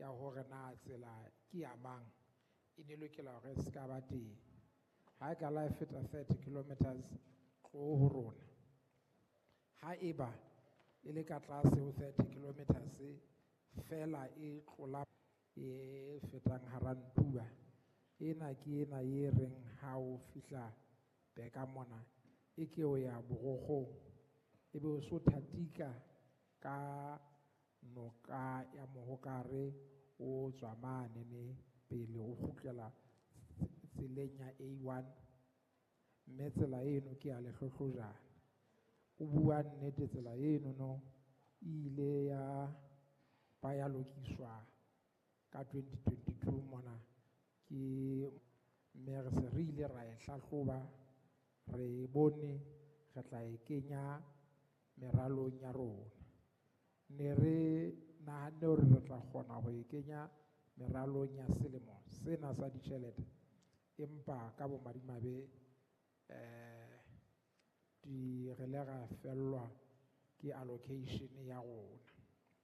ya hore na tsela ke ya mang e ne lokela hore e se ka ba teng. Ha e ka la e feta 30 kilometers tloho ho rona. Ha eba e le ka tlase ho 30 kilometers fela e tlola e fetang hara Ntuba, ena ke ena e reng ha o fihla Beka mona e ke o ya Borokgong, ebe o so thatika ka noka ya Mohokare o tswa mane ne pele o kgutlela tseleng ya A1, mme tsela eno ke ya lehlohlojana. O bua nnete, tsela eno no e ile ya ba ya lokiswa ka 2022 mona ke, mme re se re ile ra e hlahloba, re e bone, re tla e kenya meralong ya rona. Ne re nahanne hore re tla kgona ho e kenya meralong ya selemo sena sa ditjhelete, empa ka bomadimabe di re le ra fellwa ke allocation ya rona.